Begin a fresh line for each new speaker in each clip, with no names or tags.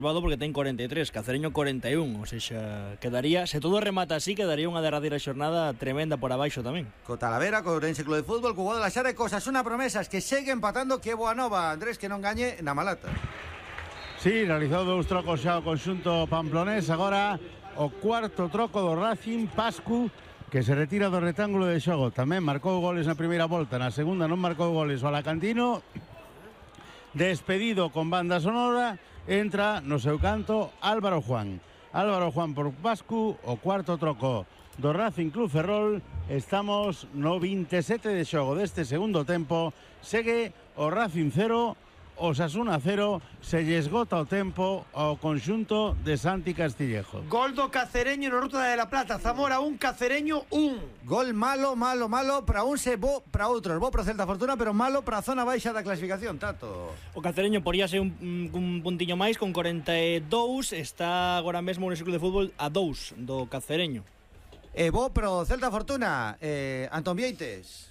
porque ten 43, Cacereño 41, ou seja, quedaría, se todo remata así, quedaría unha derradeira xornada tremenda por abaixo tamén.
Co Talavera, co Ourense Club de Fútbol, co Guadalajara e co Osasuna Promesas, que segue empatando, que boa nova, Andrés, que non gañe na Malata.
Sí, realizou 2 trocos xa o conxunto pamplonés, agora o cuarto troco do Racing, Pascu, que se retira do rectángulo de xogo. Tamén marcou goles na primeira volta, na segunda non marcou goles o Alacantino. Despedido con banda sonora, entra no seu canto Álvaro Juan por Pascu, o cuarto troco do Racing Club Ferrol. Estamos no 27 de xogo deste segundo tempo. Segue o Racing 0, Osasuna 0, se lle esgota o tempo ao conxunto de Santi Castillejo.
Gol do Cacereño no Ruta de la Plata. Zamora 1, Cacereño 1.
Gol malo para uns e bo para outros. Bo para Celta Fortuna, pero malo para a zona baixa da clasificación, Tato.
O Cacereño poría ser un puntiño máis con 42, está agora mesmo no Club de Fútbol a 2 do Cacereño.
E bo para o Celta Fortuna, Antón Vieites.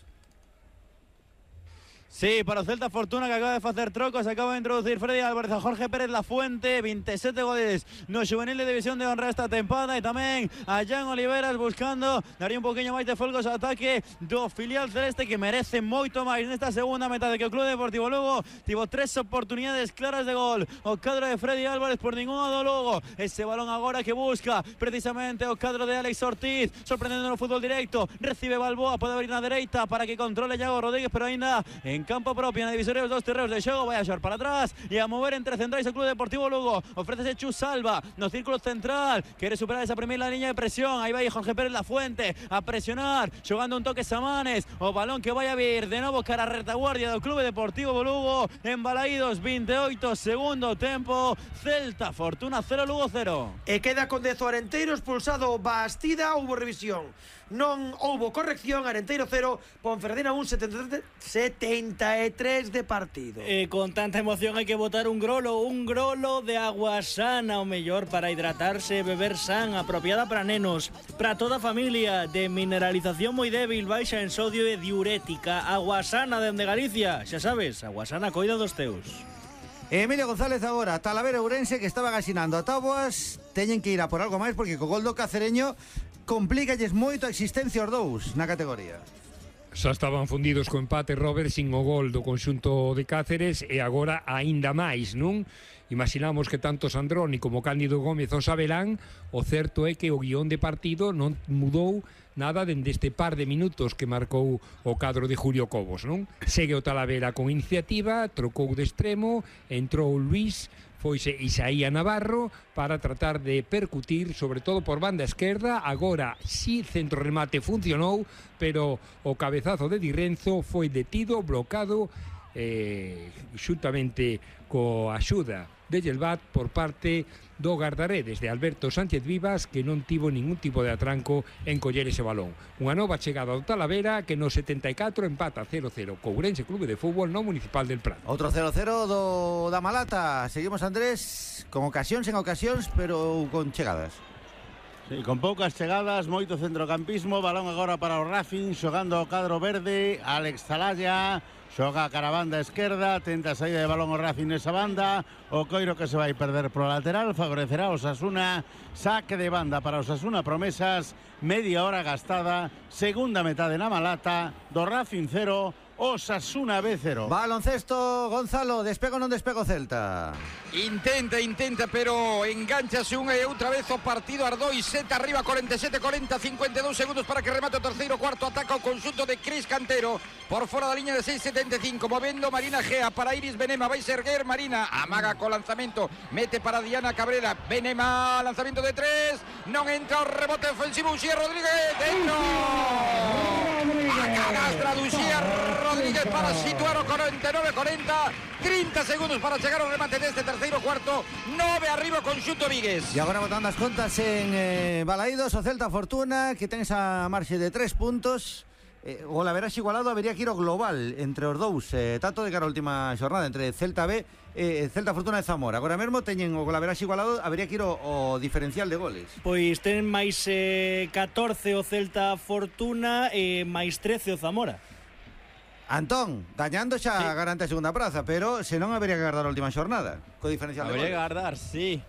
Sí, para o Celta Fortuna, que acaba de facer trocos, acaba de introducir Freddy Álvarez a Jorge Pérez Lafuente, 27 goles no juvenil de División de Honra esta tempada, e tamén a Jan Oliveras buscando daría un poquinho máis de folgos ao ataque do filial celeste, que merece moito máis nesta segunda metade, que o Club Deportivo Lugo tivo 3 oportunidades claras de gol. O cadro de Freddy Álvarez por ninguna do Lugo, ese balón agora que busca precisamente o cadro de Alex Ortiz, sorprendendo no fútbol directo, recibe Balboa, pode abrir na dereita para que controle Iago Rodríguez, pero aínda en campo propio, na divisoria dos 2 terreos de xogo, vai a xor para atrás e a mover entre centrais o Club Deportivo Lugo. Ofrécese Chus Salva no círculo central, quere superar esa primeira liña de presión, aí vai Jorge Pérez Lafuente a presionar, xogando un toque Samanes, o balón que vai a vir de novo cara a retaguardia do Club Deportivo Lugo. En Balaídos, 28, segundo tempo, Celta Fortuna 0, Lugo 0.
E queda con 10 o Arenteiro, expulsado Bastida, houbo revisión, non houbo corrección. Arenteiro 0, Ponferradina 1, 73 de partido.
Con tanta emoción hai que botar un grolo de agua sana, o mellor para hidratarse, beber san, apropiada para nenos, para toda a familia, de mineralización moi débil, baixa en sodio e diurética. Agua sana dende Galicia, xa sabes, agua sana coida dos teus.
Emilio González agora, Talavera Ourense, que estaban asinando a táboas, teñen que ir a por algo máis, porque co gol do Cacereño complícalles moito a existencia os dous na categoría.
Xa estaban fundidos co empate, Robert, sin o gol do conxunto de Cáceres, e agora aínda máis, non? Imaginamos que tanto Sandroni como Cándido Gómez o sabelán. O certo é que o guión de partido non mudou nada dende este par de minutos que marcou o cadro de Julio Cobos, non? Segue o Talavera con iniciativa, trocou de extremo, entrou Luís, foise Isaía Navarro para tratar de percutir, sobre todo por banda esquerda. Agora si centro remate funcionou, pero o cabezazo de Di Renzo foi detido, blocado, xuntamente coa axuda de Gelbat por parte do guardaredes de Alberto Sánchez Vivas, que non tivo ningún tipo de atranco en coller ese balón. Unha nova chegada do Talavera, que no 74 empata 0-0 co Ourense Clube de Fútbol no Municipal del Prado.
Outro 0-0 da Malata. Seguimos, Andrés, con ocasións en ocasións, pero con chegadas.
Sí, con poucas chegadas, moito centrocampismo. Balón agora para o Racing, xogando ao cadro verde, Alex Zalaya. Xoga a cara banda esquerda, tenta a saída de balón o Racing nesa banda, o Coiro que se vai perder pro lateral, favorecerá o Osasuna, saque de banda para o Osasuna Promesas, media hora gastada, segunda metade na Malata, do Racing 0, Osasuna B 0.
Baloncesto, Gonzalo, despego ou non despego Celta?
Intenta, pero enganchase unha e outra vez o partido. Ardoi, seta arriba, 47-40, 52 segundos para que remate o terceiro cuarto. Ataca o conxunto de Cris Cantero por fora da liña de 6.75, movendo Marina Gea para Iris Benema, vai ser erguer Marina, amaga co lanzamento, mete para Diana Cabrera, Benema, lanzamento de 3, non entra o rebote ofensivo, Uxía Rodríguez, dentro! A canastra de Uxía Rodríguez para situar o 49-40, 30 segundos para chegar ao remate deste terceiro cuarto, 9 arriba o conxunto Vigues.
E agora botando as contas en Balaídos, o Celta Fortuna, que ten esa marxe de 3 puntos. O laveraxe igualado habería que ir ao global entre os dous, tanto de cara a última xornada entre Celta B, Celta Fortuna e Zamora. Agora mesmo teñen o laveraxe igualado, habería que ir o diferencial de goles.
Pois ten máis 14 o Celta Fortuna e máis 13 o Zamora.
Antón, gañando xa garante a segunda praza, pero se non habería que agardar a última xornada, co diferencial de
Habría que
goles.
agardar, sí.